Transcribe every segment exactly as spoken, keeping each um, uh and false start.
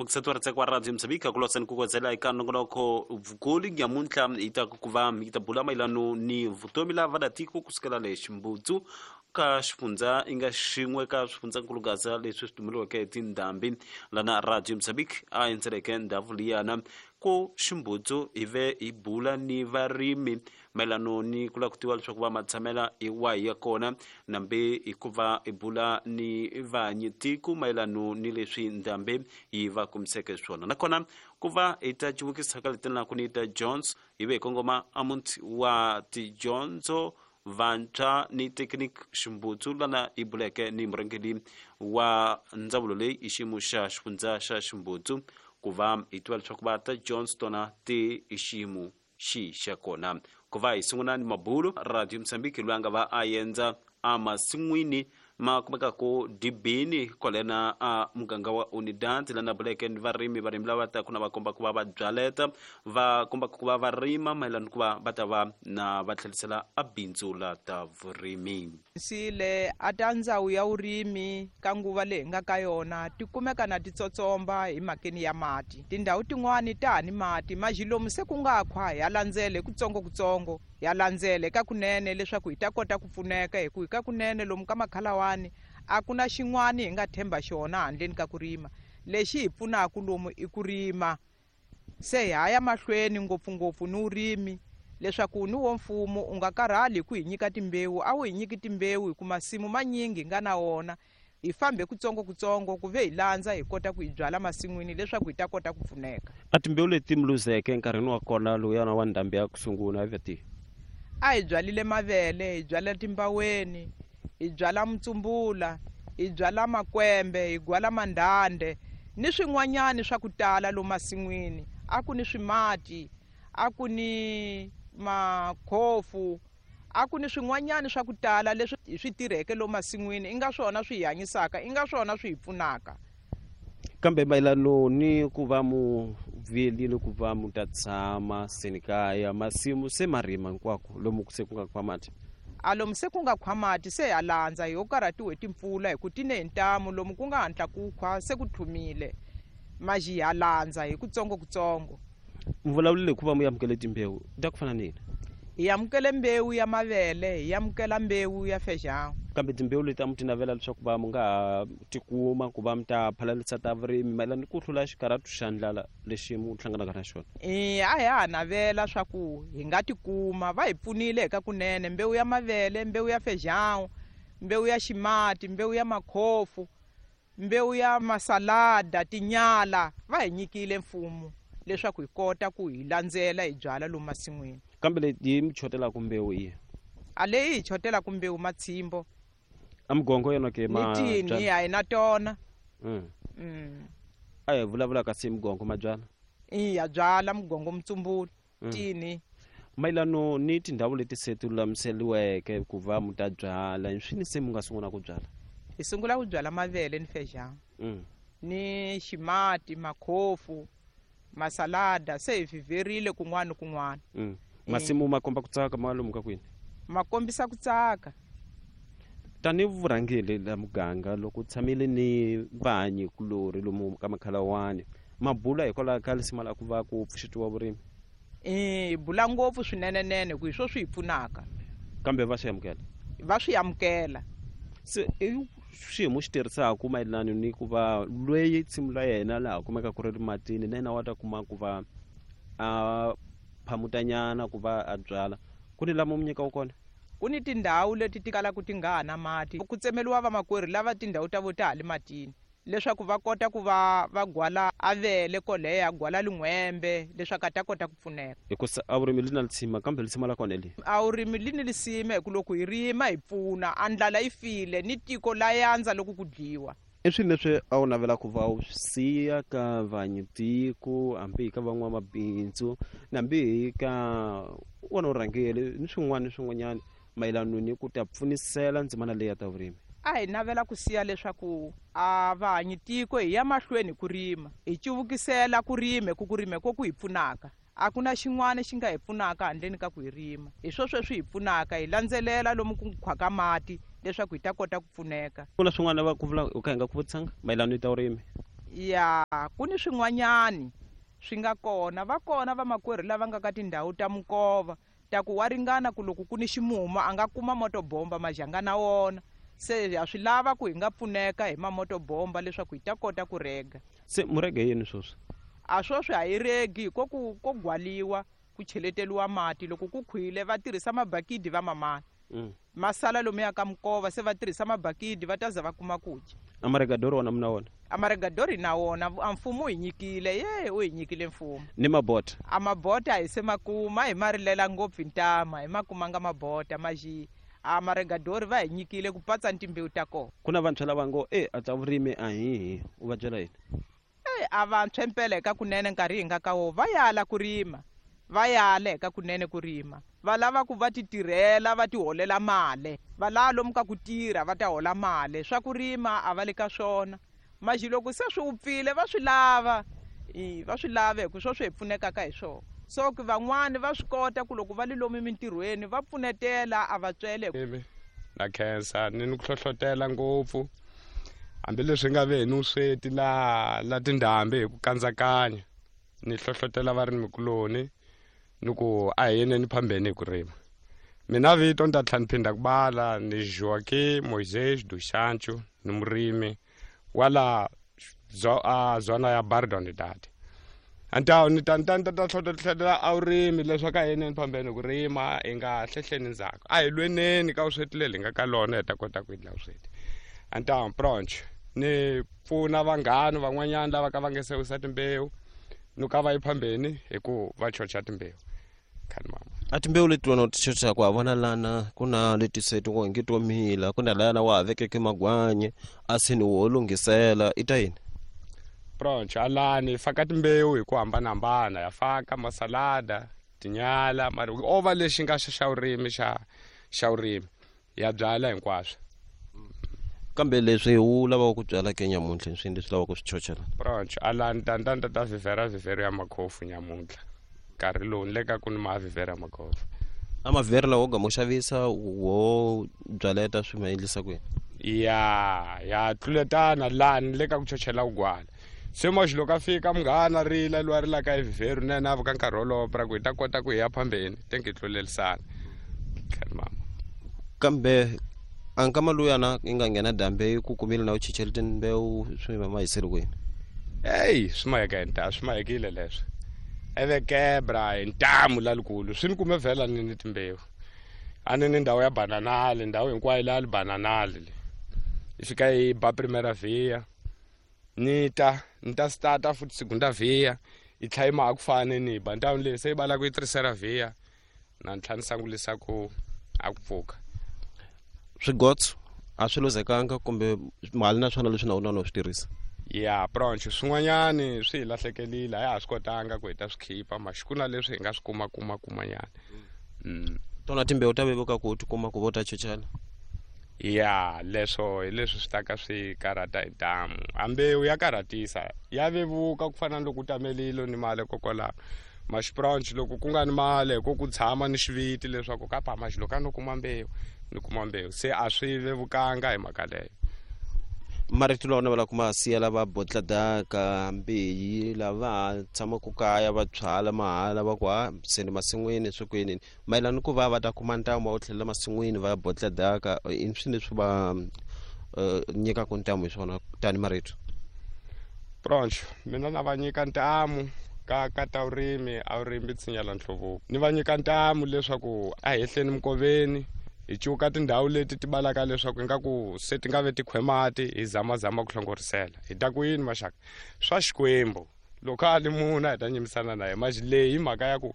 Civukisetiwa kwa Radio Mozambique kulosani kukozela eka nongonoko vukulu nyamuntlha hi ta ku va hi ta bula mayelano ni vutomi la vadatiko kusukela le Ximbudzu ka xifundza i nga xin'we ka swifundzankulugaza leswi swi tumeliweke hi tindhambi lana Radio Mozambique a endzeleke ndhawu liyana ku Ximbudzu hi ve hi bula ni varimi mayelano ni ku lava ku tiva leswaku va matshamela hi wahi ya kona nambe hikuva hi bula ni vanyitiko mayelano ni leswi ndhambi yi va kumiseke swona nakona ku va hi ta civukisa ka letinelaku ni ta Jones hi ve hi kongoma a muti wa tidyondzo vantshwa ni Technique Ximbudzu lana hi buleke ni murhangeri wa ndzawulo leyi i xiyimo xa xifundza xa Ximbudzu ku va hi tiva leswaku va ta Jones tona ti i xiyimo xi xa kona ku va hi sungula ni mabulo Radio Mozambique loyi a nga va a endza emasin'wini ma kumekaka dibini kwalena a muganga wa Unidad lana buleke ni varimi varimi lava taka na va komba ku va va byaleta va komba ku va va rima mayelana ku va va ta va na va tlhelisela a bindzu la ta vurimi. Sile a ta ndzawu ya vurimi ka nguva leyi hi nga ka yona ti kumeka na titsotsomba hi mhakeni ya mati. Tindhawu tin'wani ta ha ni mati majilomu se ku nga khwa ya landzele kutsongokutsongo ya landzele ka kunene leswaku hi ta kota ku pfuneka hi ku hi ka kunene lomu ka makhalawani a ku na xin'wani hi nga themba xona handleni ka ku rima. Lexi hi pfunaka lomu i ku rima se hi haya mahlweni ngopfungopfu ni vurimi leswaku ni wo mfumo u nga karhali hi ku hi nyika timbewu a wu hi nyiki timbewu hi ku masimu manyingi hi nga na wona hi fambe kutsongokutsongo ku ve hi landza hi kota ku hi byala masin'wini leswaku hi ta kota ku pfuneka. A timbewu leti mi luzeke enkarhini wa kona lowuyana wa ndhambi ya ku sungula hi veti a hi byalile mavele hi byala timbaweni hi byala mutsumbula hi byala makwembe hi gwala mandhande ni swin'wanyani swa ku tala lomu masin'wini a ku ni swimati a ku ni makhofu a ku ni swin'wanyani swa ku tala leswi hi swi tirheke lomu masin'wini i nga swona swi hi hanyisaka i nga swona swi hi pfunaka. Kambe mayelano ni ku va mu vilile ku va mu ta tshama senikaya masimu se ma rima hinkwako lomu se ku nga khwa mati a lomu se ku nga khwa mati se ha landza hi ho karhatiwe hi timpfula hi ku ti ne hi ntamu lomu ku nga hatla ku khwa se ku tlhumile maji ha landza hi kutsongokutsongo. Mi vulavulile hi ku va mu amukele timbewu ta ku fana ni yini? Hi amukele mbewu ya mavele hi amukela mbewu ya feijão. Kambe timbewu leti a mu ti navela leswaku va mu nga ha tikuma ku va mi ta phalalisa ta vurimi mayelana ni ku hlula xikarhatu xa ndlala lexi mu hlanganaka na xona? E a hi ha navela swa ku hi nga tikuma va hi pfunile eka kunene mbewu ya mavele mbewu ya feijão mbewu ya ximati mbewu ya makhofu mbewu ya masalada tinyala va hi nyikile mfumo leswaku hi kota ku hi landzela hi byala lomu masin'wini. Kambe leyi mi chotelaka mbewu yi a leyi hi chotelaka mbewu matshimbo a mugongo yona ke ma ni tini a hi na tona. Mm. Mm. A hi vulavulaka se mugongo ma byala i ya byala mugongo mutsumbula Mm. tini. Mayelano ni tindhawu leti se ti lulamiseliweke ku va mu ta byala hi swini se mu nga sungula ku byala? Hi sungula ku byala mavele ni feijão Mm. ni ximati makhofu masalada se hi vhiverile kun'wana ni kun'wana. Mm. Masimu ma komba ku tsaka ma lomu ka kwini? Ma kombisa ku tsaka. Tanihi vurhangeri la muganga loko u tshamile ni vanyi kulorhi lomu ka makhalawani ma bula hikwalaho ka lisima la ku va ku pfuxetiwa vurimi? E hi bula ngopfu swinenenene ku hi swo swi hi pfunaka. Kambe va swi amukela? Va swi amukela. Se i xiyimo xi tirhisaka mayelana ni ku va loyi nsimu la yena laha kumeka ku ri ri matini na yena wa ta kuma ku va a phamutanyana ku va a byala ku ni lama mu nyikaka kona? Ku ni tindhawu leti ti kalaka ti nga ha na mati ku tsemeliwa vamakwerhu lava tindhawu ta vo ta ha le matini leswaku va kota ku va va gwala avele koleya gwala lin'wembe leswaku a ta kota ku pfuneka. Hikusa a vurimi li na lisima kambe lisima la kona li a vurimi li ni lisima hi ku loko hi rima hi pfuna a ndlala yi file ni tiko la yandza loko ku dyiwa. I swilo leswi a wu navela ku va u swi siya ka vanyitiko hambi hi ka van'wamabindzu na hambi hi ka wona vurhangeri ni swin'wana ni swin'wanyana mayelana ni ku ta pfunisela ndzimana leyi ya ta vurimi? A hi navela ku siya leswaku a vahanyi tiko hi ya mahlweni ku rima hi cuvukisela ku rima ku ku rima ko ku hi pfunaka a ku na xin'wana xi nga hi pfunaka handleni ka ku hi rima hi swo sweswi hi pfunaka hi landzelela lomu ku khwaka mati leswaku hi ta kota ku pfuneka. Ku na swin'wana va ku vula u kha hi nga ku vutisanga mayelana ni ta vurimi? Ya ku ni swin'wanyani swi nga kona, va kona vamakwerhu lava nga ka tindhawu ta minkova ta ku wa ringana ku loko ku ni ximumu a nga kuma motobomba majanga na wona. Se ha swi lava ku hi nga pfuneka hi mamotobomba leswaku hi ta kota ku rega. Se murege yini sweswi? A sweswi a hi regi ko ku ko gwaliwa ku cheleteliwa mati. Loko ku khwile va tirhisa mabakidi va mamana mm. Masala lomuya ka minkova se va tirhisa mabakidi va ta za va kuma ku dya. Amaregadori wona muna wona? Amaregadori na wona a mfumo hi nyikile, ye u hi nyikile mfumo. Ni mabota? A mabota hi se makuma hi ma rilela ngopfu ntama, hi ma kumanga mabota maji. A maregadori va hi nyikile ku patsa ni timbewu ta kona. Ku na vantshwa lava ngo e a ta vurimi a hihi, u va byela yini? E a vantshwa mpela eka kunene nkarhi hi nga ka wo va yala ku rima, va yala eka kunene ku rima. Va lava ku va ti tirhela va ti holela mali, va lava lomu ka ku tirha va ta hola mali. Swa ku rima a va le ka swona. Maji loko se swi wupfile va swi lava, va swi lava hi ku swo swi hi pfunekaka hi swona. So ku van'wani va swi kota ku loko va le lomu mintirhweni va pfunetela a va tswele. Na khensa ni ni ku hlohlotela ngopfu hambileswi nga ve hi ni vusweti la la tindhambi hi ku kandzakanya, ni hlohlotela varimikuloni ni ku a hi yeneni phambeni hi ku rima. Mina vito ni ta tlhela ni phinda ku bala ni Joaquim Moisés do Sancho, ni murimi wala zona ya Bardonidade. Antawu ni ta ni ta ni ta ta hlohlotela a vurimi leswaku a hi yeneni phambeni ku rima, hi nga hlehleni ndzhaku, a hi lweneni ka vusweti leri hi nga ka lona hi ta kota ku endla vusweti. Antawu pronch ni pfuna vanghana van'wanyana lava ka va nge se wisa timbewu ni ka va yi phambeni hi ku va chocha timbewu. Khani mama a timbewu leti wena u ti chochaka wa vona lana ku na leti se ti ngi to mila, ku na lana wa ha vekeke magwanye a sini wo lunghisela, i ta yini? Pronch alani hi faka timbewu hi ku hambanahambana, ya faka masalada, tinyala, mara o va lexi nga xa xa vurimi xa xa vurimi ya byala hinkwaswo. Kambe leswi u lavaka ku byala ke nyamuntlha swi leswi lavaka ku swi chochela? Pronch alani tantanta ta vhivhera vhivhero ya makhofu nyamuntlha nkarhi lowu ni le ka ku ni ma vhivhera ya makhofu. A mavhivhero lawa wo gama u xavisa wo byaleta swi ma endlisa ku yini? Ya ya tluletana laha ni le ka ku chochela vugwala. Se maxi loko a fika munghana rila loyi a rilaka hi vhivhero na yena a vuka nkarhi wolowo pra ku hi ta kota ku hi ya phambeni tenge hi tlulelisana. Khani mama. Kambe a nkama luyana yi nga nghena dambe ku kumile na u chichele timbewu swi ma hisele kwini? Eyi swi maheka hi ntamu, swi mahekile leswi eve kebra hi ntamu lalikulu swi ni kume vhela ni ni timbewu. A ni ni ndhawu ya bananali, ndhawu hinkwayo leya li bananali le yi fika yi ba primera via ni ta ni ta stata futhi segunda via yi tlhela yi ma ha ku fani ni ba ndhawu leyi se yi balaka yi tercera via na ni tlhela ni sangulisa ku a ku pfuka. Swigotso a swi luzekanga kumbe mali na swona leswi na wona no swi tirhisa? Ya pronch swin'wanyani swi hi lahlekelile, a hi ha swi kotanga ku hi ta swi khipa maxi ku na leswi hi nga swi kuma kuma kumanyana. Mm. Tona timbewu ta vevuka ku ti kuma ku vo ta chochela? Ya leswo hi leswi swi ta ka swi karhata hi ntamu. A mbewu ya karhatisa, ya vevuka ku fana na loko u tamelile ni mali kokwalaho. Maxi pronch loko ku nga ni mali hi ko ku tshama ni xiviti leswaku ka pa maxi loko a no kuma mbewu ni kuma mbewu, se a swi vevukanga hi mhaka leyo. Marito lawa na va ku ma siya lava botladaka mbeyi lava tshamaka kaya va byala mahala va ku ha se ni masin'wini swi ku yini mayelana ku va va ta kuma ntamu wa ku tlhelela masin'wini va ya botladaka i swi leswi va nyikaka ntamu hi swona tani marito? Pronch mina na va nyika ntamu ka ka ta vurimi, a vurimi tshinya la nhluvuko. Ni va nyika ntamu leswaku a hi hehleni minkoveni hi cuka tindhawu leti ti balaka leswaku ingaku se ti nga ve tikhwemati hi zamazama ku hlongorisela. Hi ta ku yini maxaka swa Xikwembu loko a li munhu a hi ta nyimisana na yena maxi leyi hi mhaka ya ku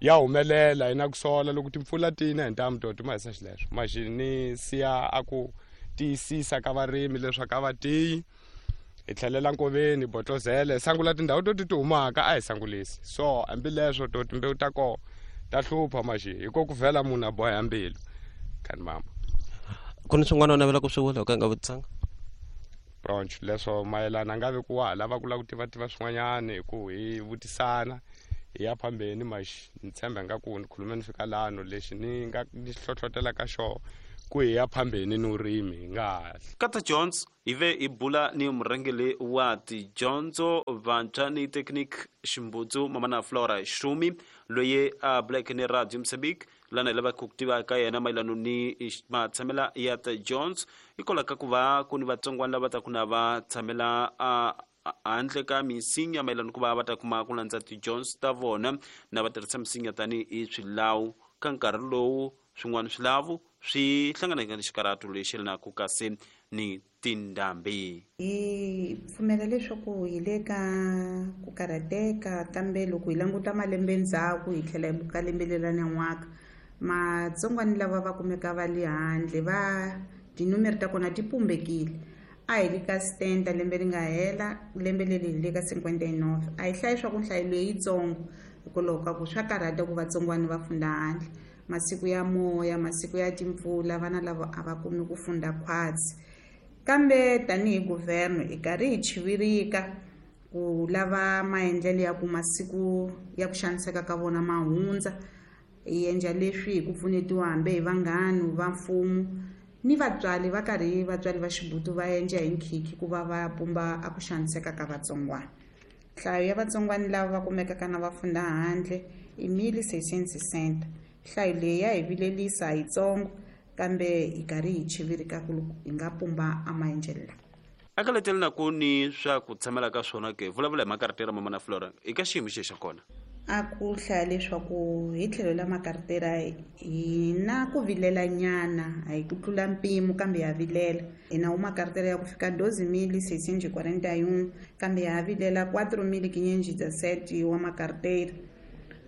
ya humelela hi na ku sola loko timpfula ti na hi ntamu to ti ma hisa xileswo. Maxi ni siya a ku tiyisisa ka varimi leswaku a va tiyi hi tlhelela nkoveni hi botlozela hi sangula tindhawu to ti ti humaka a hi sangulisi. So hambileswo to timbewu ta kona ta hlupha maxi hi ko ku vhela munhu a boha mbilu. Khani mama. Ku ni swin'wana u navela ku swi vula u ka nga vutisanga? Pronch leswo mayelana a nga ve ku wa ha lava ku lava ku tiva tiva swin'wanyani hi ku hi vutisana hi ya phambeni maxi ni tshemba nga ku ni khulume ni fika lano lexi ni nga ni hlohlotela ka xona ku hi ya phambeni ni vurimi hi nga ha Kata Jones hi ve hi bula ni murhangeri wa tidyondzo vantshwa ni technique Ximbudzu mamana Flora Shumi loyi a buleke ni Radio Mozambique lana hi lavaka ku tiva ka yena mayelana ni matshamela ya ta Jones hikwalaho ka ku va ku ni vatsongwana lava ta ku na va tshamela a handle ka misinya mayelana ku va va ta kuma ku landza tidyondzo ta vona na va tirhisa misinya tanihi swilawu ka nkarhi lowu swin'wana swilavu swi hlanganaka ni xikarhato lexi yelanaka kasi ni tindhambi. Hi pfumela leswaku hi le ka ku karhateka, kambe loko hi languta malembe ndzhaku hi tlhela hi buka lembe leri nyan'waka, matsongwani lava va kumeka va le handle va tinumere ta kona ti pumbekile. A hi le ka sitenta lembe ri nga hela, lembe leri hi le ka cinquenta e nove. A hi hlayi swa ku nhlayo leyi yitsongo hikwalaho ka ku swa karhata ku vatsongwana va funda handle. Masiku ya moya, masiku ya timpfula, vana lava a va kumi ku funda khwatsi. Kambe tanihi guvernor hi karhi hi chivirika ku lava maendlelo ya ku masiku ya ku xaniseka ka vona ma hundza. Hi endla leswi hi ku pfunetiwa hambi hi vanghana va mfumo ni vatswari va karhi vatswari va Xibutu va endla hi nkhikhi ku va va pumba a ku xaniseka ka vatsongwana. Nhlayo ya vatsongwana lava va kumekaka na va funda handle i mille seiscientos sessenta. Nhlayo leyi ya hi vilelisa yitsongo, kambe hi karhi hi chivirika ku hi nga pumba a maendlelo lawa. Eka letela ku ni swa ku tshamela ka swona ke vulavula hi makaritera mamana Flora eka xiyimo xexi xa kona. A ku hlaya leswaku hi tlhelo la makaritera hi na ku vilela nyana, a hi ku tlula mpimo kambe ya vilela. Hi na makaritera ya ku fika doze mille seiscientos quarenta e um, kambe ya vilela quatro mille quinhentos e dezessete wa makaritera.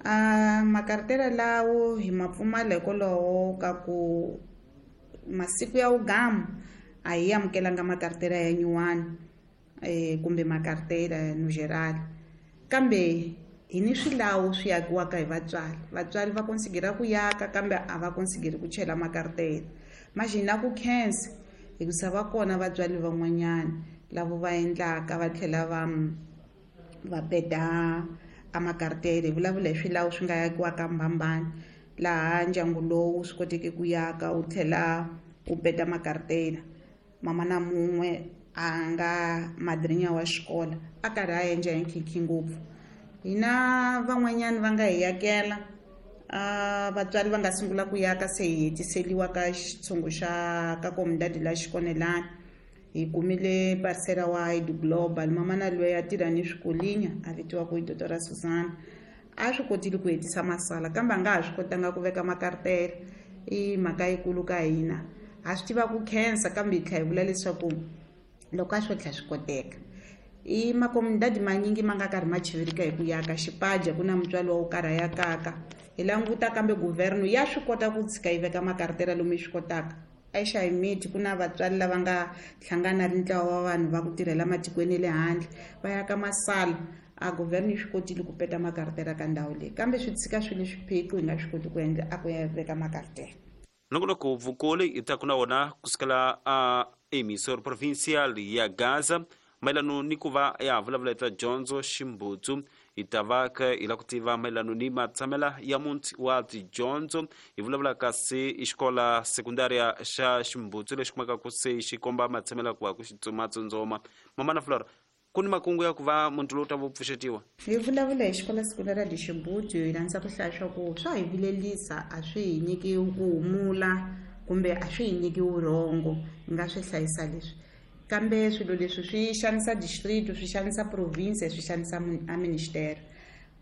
A makaritera lawo hi ma pfumala hikwalaho ka ku masiku ya wugamu a hi amukelanga makaritera ya nyuwani eh kumbe makaritera no geral, kambe hi ni swilawu swi akiwaka hi vatswari. Vatswari va konsigera ku yaka kambe a va konsigeri ku chela makaritera. Manje na ku khensa hikusa va kona vatswari van'wanyana lavo va endlaka va tlhela va va peta a makaritera. Hi vulavula hi swilawu swi nga yakiwaka mbambani laha ndyangu lowu swi koteke ku yaka wu tlhela wu peta makaritera. Mama na mun'we a nga madrinya wa xikolo a karhi a endla hi nkhinkhi ngopfu. Hina van'wanyana va nga hi yakela, a vatswari va nga sungula ku yaka se hi hetiseliwa ka xitshungu xa ka comunidade la Xikonelana. Hi kumile parcela wa I D Global, mama na loyi a tirha ni swikolinya a vitiwa ku i Doctor Susana. A swi kotile ku hetisa masala kambe a nga ha swi kotanga ku veka makaritera. I mhaka yikulu ka hina. Ha swi tiva ku khensa kambe hi tlhela hi vula leswaku loko a swo tlhela swi koteka. I makomunidadi manyingi ma nga karhi ma chivirika hi ku yaka Xipaja ku na mutswari wa wo karhi a yakaka. Hi languta kambe guvernor ya swi kota ku tshika yi veka makaritera lomu yi swi kotaka. Exayimiti ku na vatswari lava nga hlangana ri ntlawa wa vanhu va ku tirhela matikweni ya le handle va yaka masala. A guvernor yi swi kotile ku peta makaritera ka ndhawu leyi, kambe swi tshika swi le swiphiqo hi nga swi koti ku endla a ku ya veka makaritera. Nongonoko vukoli hi ta ku na wona kusukela a emisor provincial ya Gaza mayelana ni ku va ya vulavula hi ta dyondzo Ximbudzu. Hi ta va ka hi lava ku tiva mayelana ni matshamela ya muti wa tidyondzo. Hi vulavula kasi i xikola sekundaria xa Ximbudzu lexi kumekaka se xi komba matshamela ku va ku xi matsundzoma. Mamana Flora, ku ni makungu ya ku va muti lowu ta va pfuxetiwa? Hi vulavula hi xikola sekundaria de Ximbudzu, hi landza ku hlaya swa ku swa hi vilelisa, a swi hi nyiki ku humula kumbe a swi hi nyiki vurhongo, hi nga swi hlayisa leswi. Kambe swilo leswi swi xanisa district, swi xanisa province, swi xanisa a minister.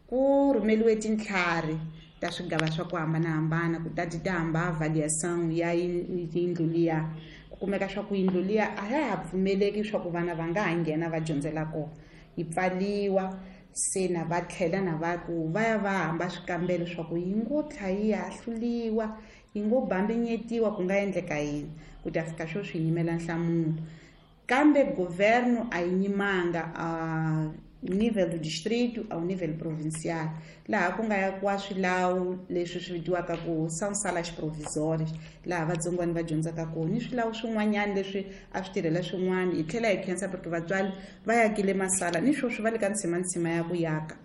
Ku rhumeliwe tintlhari ta swigava swa ku hambanahambana ku ta ti ta hamba avaliação ya yindlu liya. Ku kumeka swa ku yindlu liya a ya ha pfumeleki swa ku vana va nga ha nghena va dyondzela kona, yi pfaliwa. Se na va tlhela na va ku va ya va hamba swikambelo swa ku yi ngo tlha yi hahluliwa, yi ngo bambinyetiwa, ku nga endleka yini ku ta fika swo swi yimela nhlamulo. Kambe governo a yi nyimanga a nível do distrito ao nível provincial, laha ku nga yakiwa swilawu leswi swi vitiwaka ku são salas provisórias, laha vatsongwana va dyondzaka kona, ni swilawu swin'wanyana leswi a swi tirhela swin'wana. Hi tlhela hi khensa porque vatswari va yakile masala ni sweswi va le ka ntsimantsima ya ku yaka.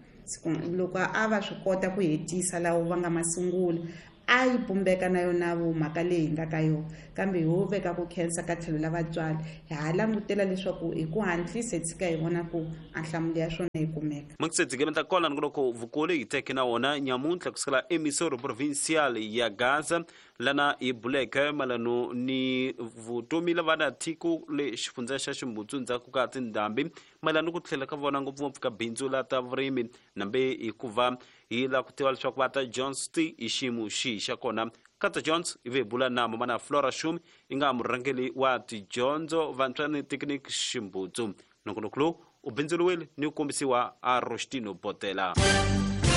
Loko a va swi kota ku hetisa lawo va nga ma sungula, a yi pumbeka na yona mhaka leyi hi nga ka yona kambe ho veka ku khensa ka tlhelo la vatswari hi ha langutela leswaku hi ku hatlisa hi tshika hi vona ku a nhlamulo ya swona yi kumeka. Mukisedzikemeta kona nongoloko vukulu hi teke na wona nyamuntlha kusukela emisoro provincial ya Gaza lana hi buleke mayelano ni vutomi la vana tiko le xifundza xa Ximbutsu ndzhaku ka tindhambi mayelano ku tlhela ka vona ngopfungopfu ka bindzu la ta vurimi nambe hikuva hi la ku tiva leswaku va ta Jones ti i xiyimo xihi xa kona. Kata Jones i ve bula na mamana Flora Shumi i nga murhangeri wa tidyondzo vantshwa ni Tekniki Ximbutsu. Nongonoko lowu u bindzuriwile ni ku kombisiwa a Rostino Botela.